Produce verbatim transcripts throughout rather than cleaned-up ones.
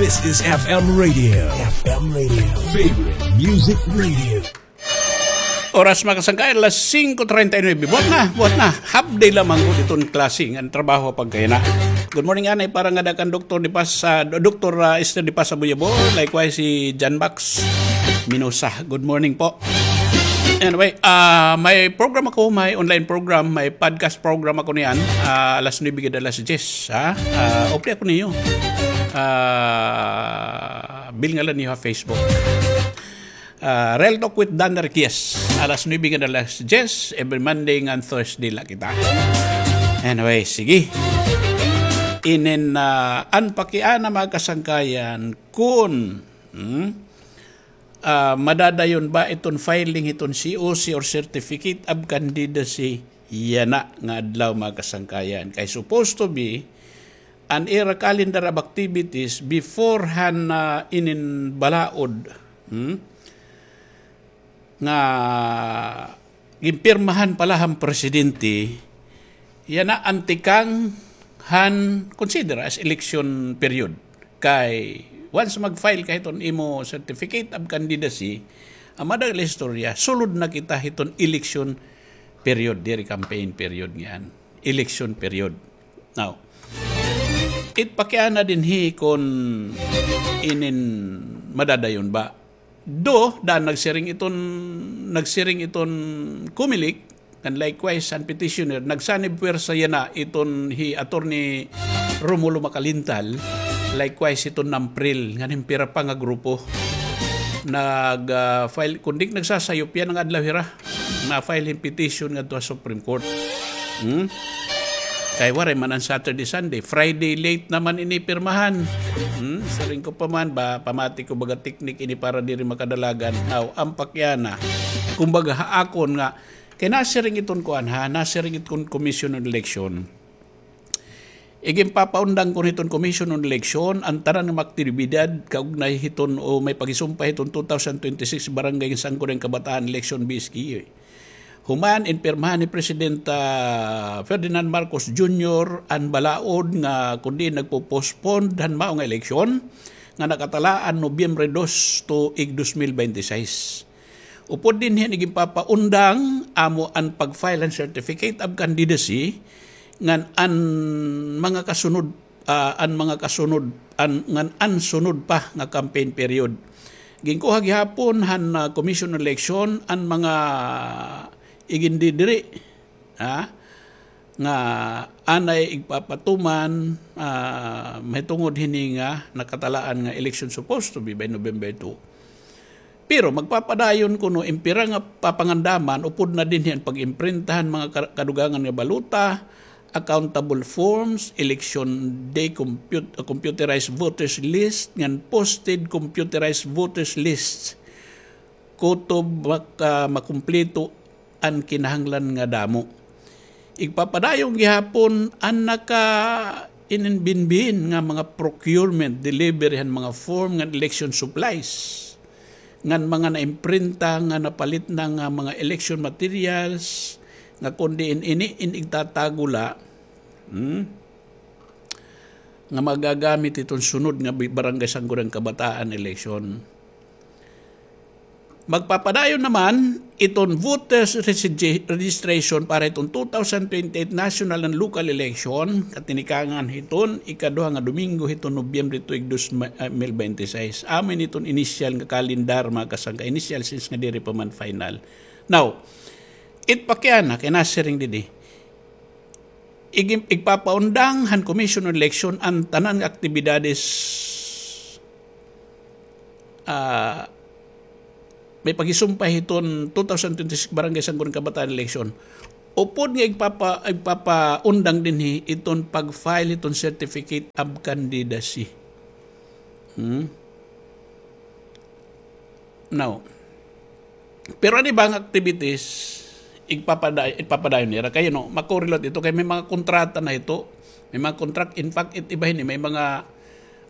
This is F M Radio. F M Radio. Favorite Music Radio. Oras, mga kasangkayan, alas singko treinta y nuebe. Buhat na, buhat na. Half day lamang ko diton klase ngan trabaho pagkayana. Good morning, anay, para ngada kan Doktor Di Paz, ah, Doktor, ah, Esther Di Paz Abuyabo. Likewise, si John Max Minosa. Good morning po. Anyway, ah, may program ako, may online program, may podcast program ako niyan. Ah, alas nuebe gad alas diyes, ha? Ah, update ako niyo. Ah, bilngalan niyo ha Facebook. Ah, Real Talk with Dan Riquez. Alas nuebe gad alas diyes, every Monday ngan Thursday la kita. Anyway, sige. Inin, ah, an pakiana, mga kasangkayan, kun, hmm? Ah, madadayon ba iton filing hiton C O C or Certificate of Candidacy yana nga adlaw, mga kasangkayan? Kay supposed to be, an ira calendar of activities before han, ah, inin balaod, hmm? Nga ginpirmahan pa la han presidente, yana an tikang han consider as election period. Kay once mag-file ka hiton imo certificate of candidacy, an madagol istorya, sulod na kita hiton election period, diri campaign period niyan. Election period. Now, it pakiana dinhi kun inin madadayon ba. Do, daan nagsiring iton, nagsiring iton Comelec, and likewise, an petitioner, nagsanib puwersa yana iton hi Attorney Romulo Macalintal, likewise iton NAMPRIL, ngan hin pira pa nga grupo. Nag, ah, file, kun di ak nagsasayop, yana nga adlaw hira na-file hin petition ngadto ha Supreme Court. Hmm? Kay waray man an Saturday, Sunday. Friday late naman ini pirmahan. Hmm? Siring ko pa man, ba, pamati ko baga teknik ini para diri makadalagan. Now, an pakiana, kumbaga ha akon nga, kay nasiring iton kuan ha, nasiring iton Commission on Election. Iginpapaundang kon hiton Commission on Election an tanan nga mga aktibidad kaugnay hiton o may paghisumpay hiton two thousand twenty-six Barangay Sangguniang Kabataan Election, B S K E. Human inpirmahan ni President, ah, Ferdinand Marcos Junior an balaod nga kundi nagpo-postpone han mao nga eleksyon nga nakatalaan Nobyembre dos tuig dos mil bente seis. Upod dinhi an iginpapaundang amo an pag-file han certificate of candidacy ngan an mga kasunod, ah, an mga kasunod, an, ngan an sunod pa nga campaign period. Ginkuha gihapon han, ah, Commission on Election an mga igindidiri, ha, nga anay igpapatuman, ah, mahitungod hini nga nakatalaan nga election supposed to be by November two. Pero magpapadayon kuno in pira nga papangandaman upod na dinhi an pag-imprinta han mga ka-, kadugangan nga balota, accountable forms, election day comput-, computerized voters list, ngan posted computerized voters list. Kutob maka-, makumpleto an kinahanglan nga damo. Igpapadayon gihapon an naka-ininbinbin nga mga procurement, delivery han mga form ngan election supplies, ngan mga naimprinta nga napalit na nga mga election materials, nga kon diin ini in igtatago la, hmm, nga magagamit hiton sunod nga bi-, Barangay Sangguniang Kabataan election. Magpapadayon naman iton voters regi-, registration para hiton two thousand twenty-eight national and local election, katinikangan hiton ikaduha nga Domingo hiton Nobyembre tuig dos mil bente seis. Amo ini iton initial nga kalendar, mga kasangka, initial since nga diri pa man final. Now, it pakiana kay nasiring didi. Ig-, igpapaundang han Commission on Election an tanan nga aktibidades, ah, may paghisumpay hiton two thousand twenty-six Barangay Sangguniang Kabataan election. Upod nga igpapa-, igpapaundang dinhi iton pag-file hiton certificate of candidacy. Hmm? Now, pero an iba nga activities, igpapada-, igpapadayon nira. Kay, you know, makorelate ito kay may mga kontrata na ito. May mga contract. In fact, it iba hini, may mga,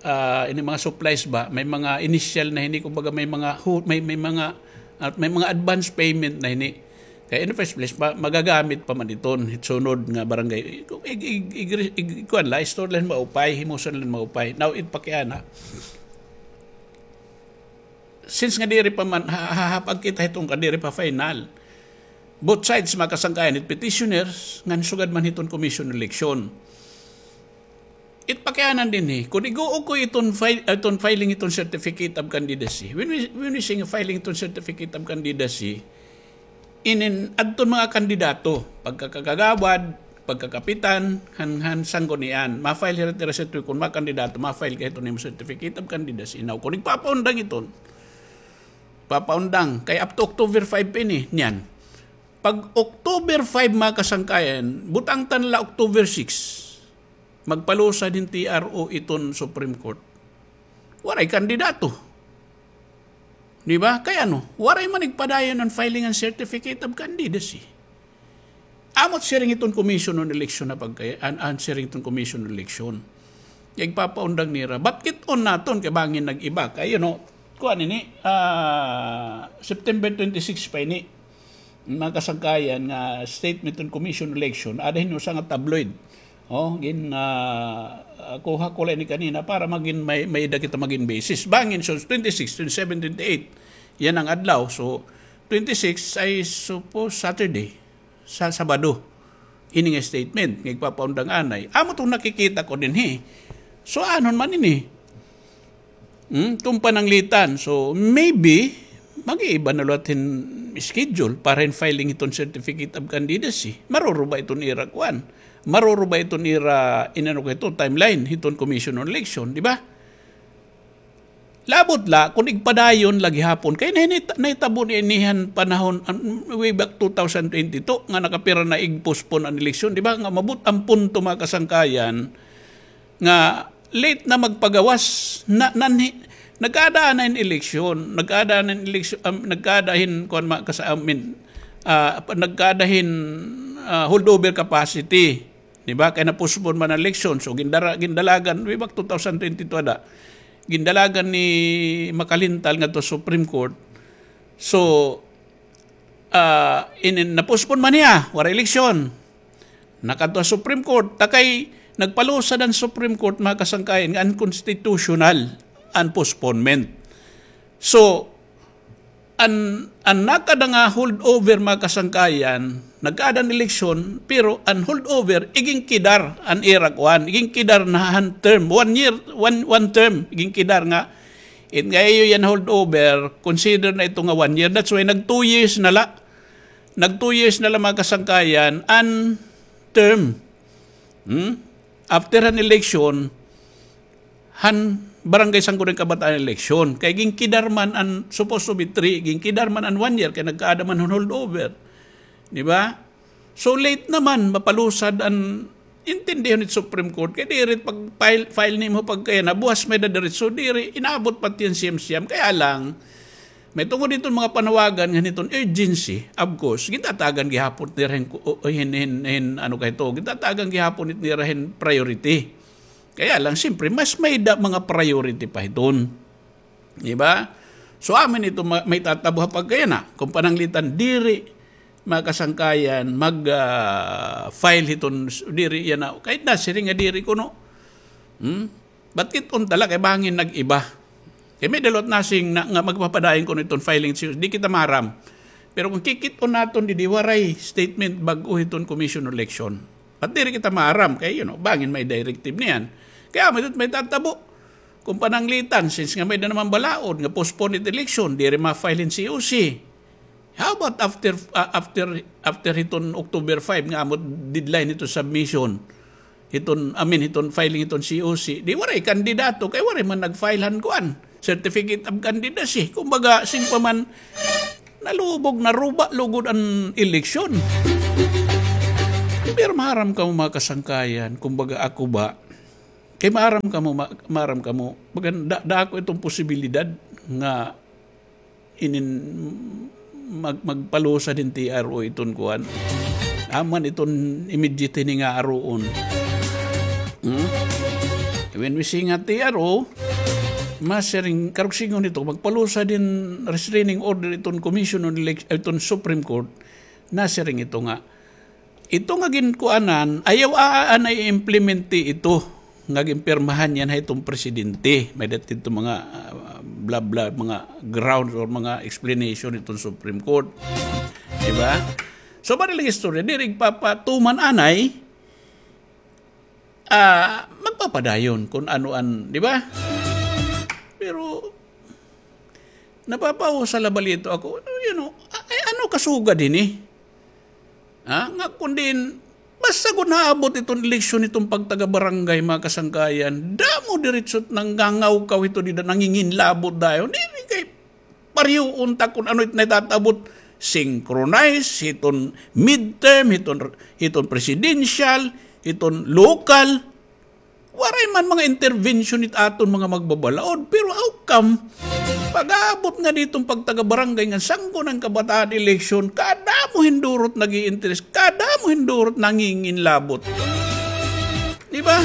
ah, ini mga supplies ba, may mga initial na hini, kumbaga may mga hu-, may, may mga, ah, may mga advance payment na hini. Kay in the first place, ma-, magagamit pa man iton, hit sunod nga barangay. Ig-, ig-, ig-, ig-, kuan la, istorya la hin maupay, himusan la hin maupay. Now, it pakiana. Since nga diri pa man, ha-, ha-, hapag kita hiton nga diri pa final. Both sides, mga kasangkayan, it petitioners, ngan sugad man hiton commission election. It pakianan dinhi, kun ig-ukoy iton file, iton filing iton certificate of candidacy. When we, when we say nga filing iton certificate of candidacy, inin adton mga kandidato, pagkakagawad, pagkakapitan, han, han sanggunian, ma-file hira it ira certificate, kun mga kandidato, ma-file ka hiton imo certificate of candidacy. Now, kun igpapaundang iton, papaundang, kay up to October five pa ini, niyan. Pag October five, mga kasangkayan, butang ta na la October six. Magpalusad hin T R O iton Supreme Court. Waray kandidato. Di ba? Kay ano? Waray man igpadayon an filing an certificate of candidacy. Amo it siring iton commission on election na pagkay-, an, an siring iton commission on election. Kay igpapaundang nira. But kit-on naton kay bangin nag-iba. Kay, you know, kuan ini, ah, September twenty-six pa ini. Mga kasangkayan nga statement on commission election, ada hin usa nga tabloid. Oh, gin, ah, kuha ko la ini kanina para magin may, may-ada kita magin basis. Bangin, so, twenty-six, twenty-seven, twenty-eight. Yan an adlaw. So, twenty-six ay suppose Saturday. Sa Sabado. Ini nga statement, nga igpapaundang anay. Amo iton nakikita ko dinhi. So, anon man ini? Hmm? Kung pananglitan. So, maybe, mag-iiba na liwat hin schedule para hin filing hiton certificate of candidacy. Maruruba iton ira kuan. Maruruba iton ira, inano ko ito, timeline, hiton Commission on Election, di ba? Labot la, kun igpadayon la gihapon. Kay nahinit-, nahitabo ini han panahon, an, way back two thousand twenty-two, nga nakapira na ig-postpone an eleksyon, di ba? Nga umabot an punto, mga kasangkayan, nga late na magpagawas, na, nanhi-, nagkaada na hin eleksyon, nagkaada na hin eleksyon, um, nagkaada hin, kuwan, ma-, kasa-, I mean, ah, pa-, nagkaada hin, ah, holdover capacity. Di ba? Kay na-postpone man an eleksyon. So, gindara-, gindalagan, way back two thousand twenty-two ada. Gindalagan ni Makalintal ngadto Supreme Court. So, ah, inin, na-postpone man niya, waray eleksyon. Nakadto ha Supreme Court, ta kay nagpalusad an Supreme Court, mga kasangkayan, nga unconstitutional an postponement. So, an, an nakada nga holdover, mga kasangkayan, nagkaada an eleksyon, pero an holdover, igingkidar an ira kuan, igingkidar na han term, one year, one, one term, igingkidar nga, it nga iyo yan holdover, consider na ito nga one year. That's why nag two years na la. Nag two years na la, mga kasangkayan, an term. Hmm? After an election, han Barangay Sangguniang Kabataan election. Kay ginkidar man an supposed to be three, ginkidar man an one year, kay nagkaada man han holdover. Di ba? So late naman, mapalusad an intindihon it Supreme Court. Kay diri pag file, file nimo pagkaya na, buwas may dadiretso, diri, inabot pa it siyam-siyam. Kaya lang, may tungod hiton mga panawagan nga hiton urgency, of course, gintatagan gihapon nira hin, hin, hin, hin, ano kay to, gintatagan gihapon it nira hin priority. Kaya lang, siyempre, mas may-ada mga priority pa hiton. Di ba? So, amin ito ma-, may tatabo ha pagkayana. Kung pananglitan, diri, mga kasangkayan, mag, ah, file hiton, diri yana. Kahit na, siring nga diri kuno. Hmm? But kit-on tala kay bangin nag-iba. Kay may-ada liwat nasing na, nga magpapadayon kuno iton filing C O C, di kita maaram. Pero kung kikit-on naton didi, waray statement bag-o hiton commission election. But diri kita maaram kay, you know, bangin may directive niyan. Kay amo it may tatabo. Kung pananglitan, since nga may-ada naman balaod nga postpone it election, diri ma-file hin C O C. How about after, ah, after, after hiton October five nga amo it deadline hiton submission? Hiton, I mean, hiton filing hiton C O C. Di waray kandidato, kay waray man nag-file han kuan, certificate of candidacy. Kumbaga, sin pa man, nalubog, naruba lugod an eleksyon. Pero maaram kamo, mga kasangkayan, kumbaga ako ba, kay maaram kamo, ma-, maaram kamo, baga, da-, dako iton posibilidad nga inin mag-, magpalusad hin T R O iton kuan. Aman iton immediate hini nga aruon. Hmm? When we say nga T R O, masiring, karuyag sidngon ito, magpalusad hin restraining order iton Commission on Elec-, iton Supreme Court. Nasiring ito nga, ito nga ginkuanan, ayaw aana i-implemente ito nga ginpirmahan yana hiton presidente. May-ada ito mga, ah, bla, bla, mga grounds or mga explanation hiton Supreme Court. Di ba? So, bali la hin istorya, diri igpapatuman anay, ah, magpapadayon kun ano an, di ba? Pero, napapausal la bala ito ako, you know, a-, ay, ano kasugad hini? Ha? Nga kun diin, basta kun naabot iton eleksyon, iton pagtagabarangay, mga kasangkayan, damo diretso it nangangaw-kaw ito dida, nanginginlabot dayon. Diri kay pareho unta kun ano it naitatabot, synchronize, hiton midterm, hiton, hiton presidential, hiton local. Waray man mga intervention it aton mga magbabalaod, pero how come, pag-aabot ngadi hiton pagtagabarangay nga sangko na an kabataan eleksyon, kadamo hin duro it nag-i-interes, kadamo hin duro it nanginginlabot. Di ba?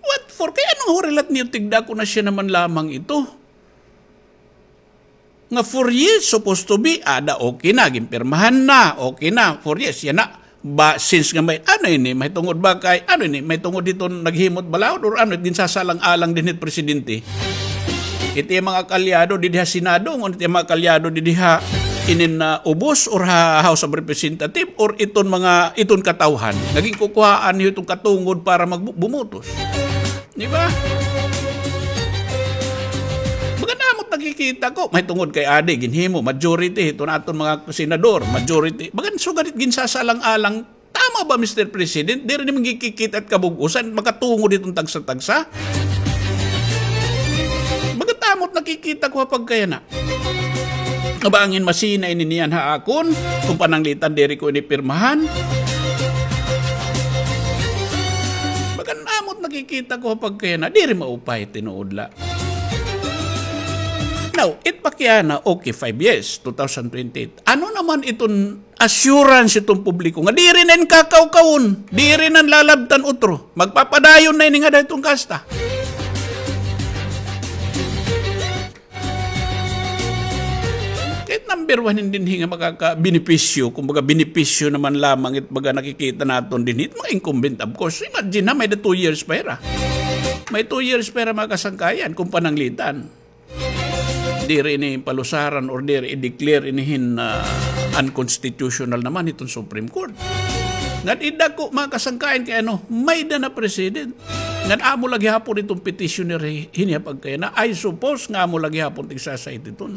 What for? Kay ano nga wara la it niyo tigda ko na siya naman lamang ito? Nga four years supposed to be, ada okay na, ginpirmahan na, okay na, four years, yana. Ba, since nga may, ano ini, mahitungod ba kay, ano ini, mahitungod hiton naghimo it balaod, or ano, ginsasalang-alang dinhi it presidente? It iya mga kaalyado didi ha Senado, ngan it iya mga kaalyado didi ha inin, ah, ubos, or ha House of Representative, or iton mga, iton katawhan nga ginkukuhaan niyo iton katungod para magbu-, bumutos. Di ba? Bagan amo it nakikita ko, mahitungod kay adi, ginhimo, majority, hiton aton mga senador, majority. Bagan sugad it ginsasalang-alang, tama ba, Mister President? Diri nimo gikikita it kabug-osan, makatungod hiton tagsa-tagsa? Bagan amo it nakikita ko ha pagkayana. Nga bangin masina ini niyan ha akon, kun pananglitan diri ko ini pirmahan. Bagan amo it nakikita ko ha pagkayana, diri maupay, tinuod la. Now, it pakiana, okay, five years, two thousand twenty-eight. Ano naman iton assurance iton publiko nga diri na in kakaw-kawon, diri na in lalabtan utro, magpapadayon na ini ngada hiton kasta? Kay it number one hin dinhi nga makakabenepisyo, kumbaga benepisyo naman lamang it baga nakikita naton dinhi, it mga incumbent, of course. Imagine ha, may-ada two years pa hira. May two years pa hira, mga kasangkayan, kun pananglitan. Diri ini palusaran or diri i-declare ini hin, ah, unconstitutional naman hiton Supreme Court. Ngan it dako, mga kasangkayan, kay ano, may-ada na precedent. Ngan amo la gihapon iton petitioner hi-, hini ha pagkayana. I suppose nga amo la gihapon it igsa-cite iton.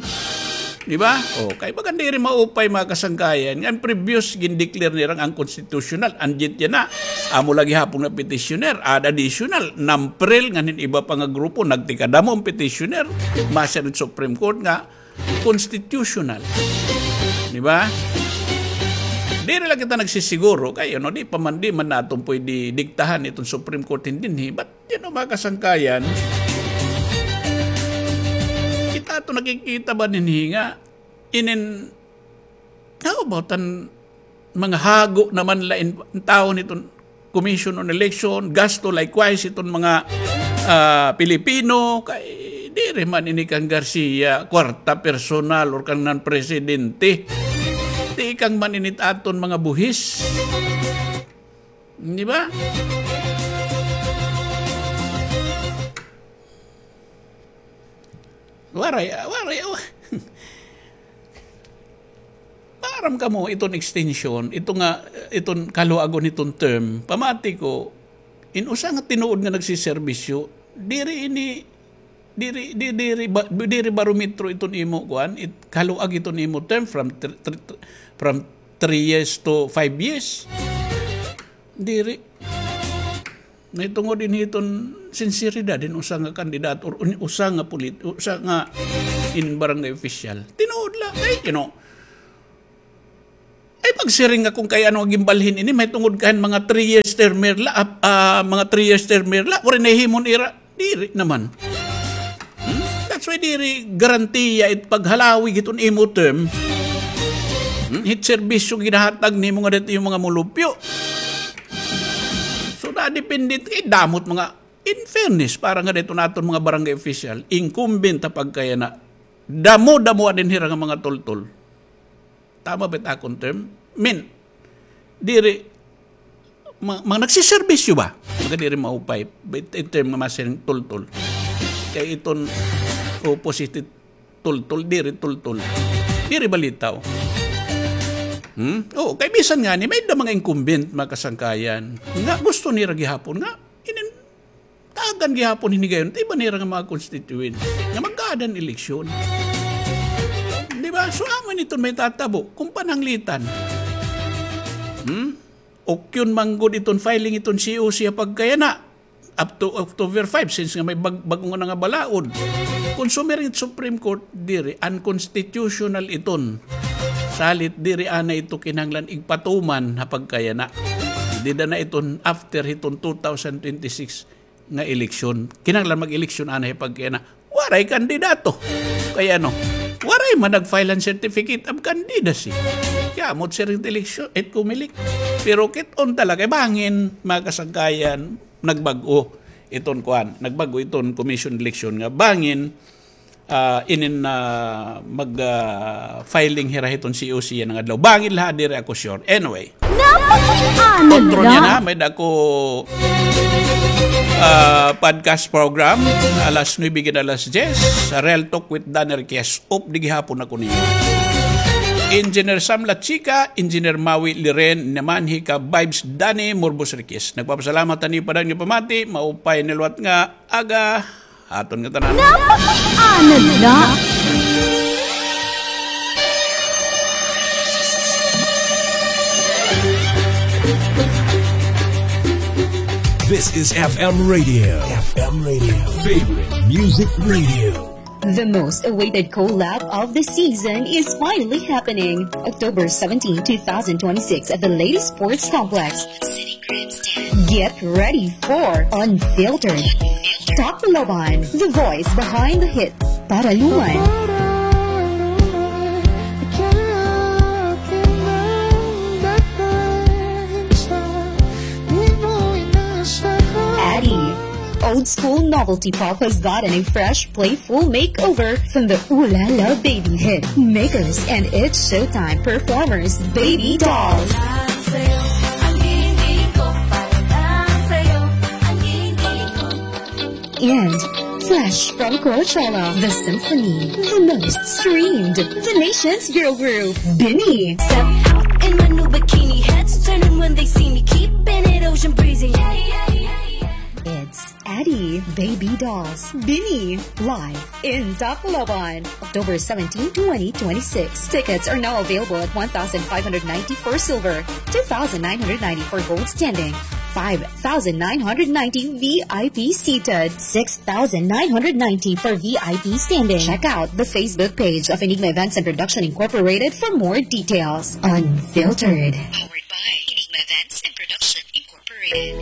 Di ba? O, kay bagan diri maupay, mga kasangkayan, nga an previous gin-declare nira nga unconstitutional. An jit yana, amo la gihapon nga petitioner, add additional, NAMPREL, ngan hin iba pa nga grupo, nagtikadamo an petitioner, masiring it Supreme Court nga constitutional. Di ba? Diri la kita nagsisiguro, kay, ano, di pa man, di man naton pwede diktahan iton Supreme Court hin dinhi. But, you know, mga kasangkayan, kita aton nakikita ba dinhi nga, inin, how about an mga hago naman la in, in tawo hiton Commission on Election, gasto likewise iton mga, ah, Pilipino, kay diri man ini kan Garcia, kwarta personal or kan nan presidente. Tikang man ini it aton mga buhis. Di ba? Waray, ah, waray, ah. Maaram kamo, iton extension, ito nga, iton kaluagon hiton term, pamati ko, in usa nga tinuod nga nagsiserbisyo, diri ini, diri, di-, diri ba-, diri barometro iton imo, kuan, it-, kaluag iton imo term from thr-, thr-, thr-, from three years to five years. Diri. Mahitungod ini hiton sinseridad hin usa nga kandidato or un-, usa nga polit-, usa nga in barangay official. Tinuod la, ay, you know. Ay, pagsiring nga kun kay ano an ginbalhin ini, mahitungod kay mga three years termer la, ah, ah, mga three years termer la, waray nahimo an ira. Diri naman. Hmm? That's why diri garantiya it paghalawig hiton imo term. Hmm? Hit serbisyo ginahatag nimo ngada hit imo mga mulupyo. So, nadepende kay damo it mga, in fairness, para ngada hiton aton mga barangay official, incumbent ha pagkayana. Damo-damo din hira nga mga tultol. Tama ba it akon term? Min, diri, ma-, mga nagsiserbisyo ba? Mga diri maupay. Ba it, it term nga masiring tultol. Kay iton opposite tultol, diri tultol. Diri balitaw. Hmm? Oo, kay bisan ngani, may da mga incumbent, mga kasangkayan. Nga gusto nira gihapon nga, inin, tagan gihapon hinigayon, iba nira nga mga constituent. Nga magkaada hin eleksyon. Di ba? So, amo ini iton may tatabo, kung pananglitan. Hmm? Ukyon man gud iton filing iton C O C ha pagkayana. Up to October five, since nga may bag-, bag-o nga nga balaod. Kon sumiring it Supreme Court, diri, unconstitutional iton. Salit diri anay ito kinahanglan igpatuman ha pagkayana. Dida na iton after hiton two thousand twenty-six nga eleksyon. Kinahanglan mag-eleksyon anay ha pagkayana. Waray kandidato. Kay ano, waray man nag-file an certificate of candidacy. Kay amo it siring it eleksyon, it Comelec. Pero kit-on talaga, bangin, mga kasangkayan, nagbag-o iton kuan, nagbag-o iton commission election nga bangin, ah, inin, ah, mag, ah, filing hira hiton C O C yana nga adlaw. Bangin la, diri ako sure. Anyway. Kontro niya na, may da ako, ah, podcast program, alas nuebe hanggang alas diyes, Real Talk with Danny Riquez. Op, di gihapon ako niyo. Engineer Sam Lachica, Engineer Maui Liren, naman hi ka Vibes Danny Morbos Riquez. Nagpapasalamat ani pa dan nga pamati, maupay nga liwat nga aga, aton nga tanan. Napakaanad na. This is F M Radio. F M Radio. Favorite music radio. The most awaited collab of the season is finally happening. October seventeen, two thousand twenty-six at the Lady Sports Complex. Get ready for Unfiltered. Tacloban, the voice behind the hit Paraluman. Addy, old school novelty pop has gotten a fresh, playful makeover from the Ooh La La Baby hit makers and It's Showtime performers, Baby Dolls. And fresh from Coachella, the symphony, the most streamed, the nation's girl group, Bini. Step out in my new bikini, heads turning when they see me, keeping it ocean breezy. Yeah, yeah, yeah, yeah. It's Addy, Baby Dolls, Bini, live in Tacloban, October seventeen, twenty twenty-six. Tickets are now available at one thousand five hundred ninety for silver, two thousand nine hundred ninety for gold standing, five thousand nine hundred ninety V I P seated, six thousand nine hundred ninety for V I P standing. Check out the Facebook page of Enigma Events and Production Incorporated for more details. Unfiltered. Powered by Enigma Events and Production Incorporated.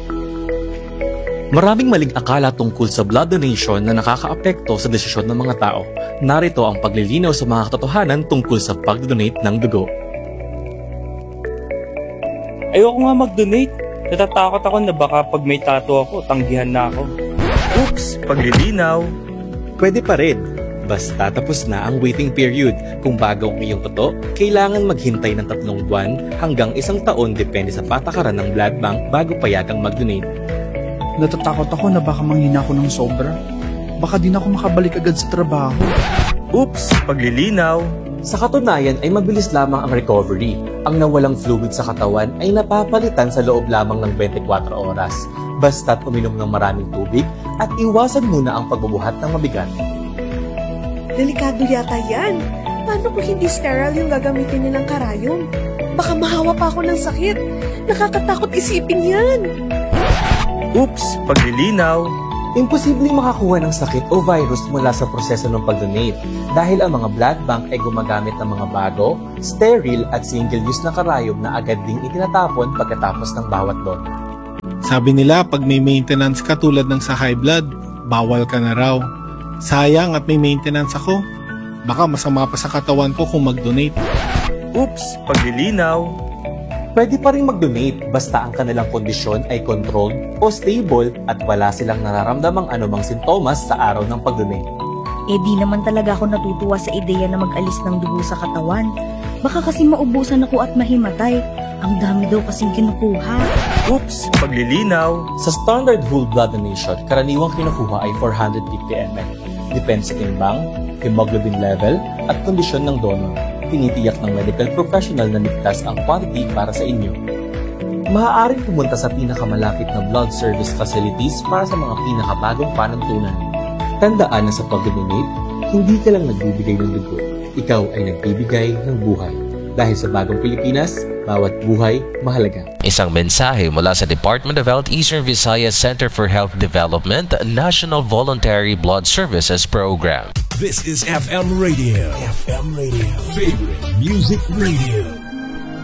Maraming maling akala tungkol sa blood donation na nakakaapekto sa desisyon ng mga tao. Narito ang paglilinaw sa mga katotohanan tungkol sa pagdodonate ng dugo. Ayoko nga mag-donate. Natatakot ako na baka pag may tattoo ako, tanggihan na ako. Oops! Paglilinaw. Pwede pa rin. Basta tapos na ang waiting period. Kung bago ang iyong tattoo, kailangan maghintay ng tatlong buwan hanggang isang taon, depende sa patakaran ng blood bank, bago payagang mag-donate. Natatakot ako na baka manghina ako ng sobra. Baka di na ako makabalik agad sa trabaho. Oops! Paglilinaw. Sa katunayan ay mabilis lamang ang recovery. Ang nawalang fluid sa katawan ay napapalitan sa loob lamang ng twenty-four oras. Basta't uminom ng maraming tubig at iwasan muna ang pagbubuhat ng mabigat. Delikado yata yan. Paano kung hindi sterile yung gagamitin nilang karayom? Baka mahawa pa ako ng sakit. Nakakatakot isipin yan. Oops! Paglilinaw. Imposibleng makakuha ng sakit o virus mula sa proseso ng pag-donate dahil ang mga blood bank ay gumagamit ng mga bago, sterile at single-use na karayom na agad ding itinatapon pagkatapos ng bawat donor. Sabi nila, pag may maintenance ka tulad ng sa high blood, bawal ka na raw. Sayang at may maintenance ako. Baka masama pa sa katawan ko kung mag-donate. Oops, paglilinaw. Pwede pa ring mag-donate basta ang kanilang kondisyon ay controlled o stable at wala silang nararamdamang anumang sintomas sa araw ng pag-donate. Eh, di naman talaga ako natutuwa sa ideya na mag-alis ng dugo sa katawan. Baka kasi maubusan ako at mahimatay. Ang dami daw kasing kinukuha. Oops! Paglilinaw! Sa standard whole blood donation, karaniwang kinukuha ay four hundred fifty M L. Depende sa timbang, hemoglobin level, at kondisyon ng donor. Tinitiyak ng medical professional na ligtas ang quantity para sa inyo. Maaaring pumunta sa pinakamalapit na blood service facilities para sa mga pinakabagong panuntunan. Tandaan na sa pag-donate, hindi ka lang nagbibigay ng dugo. Ikaw ay nagbibigay ng buhay. Dahil sa bagong Pilipinas, bawat buhay mahalaga. Isang mensahe mula sa Department of Health Eastern Visayas Center for Health Development National Voluntary Blood Services Program. This is F M Radio. F M Radio. Favorite Music Radio.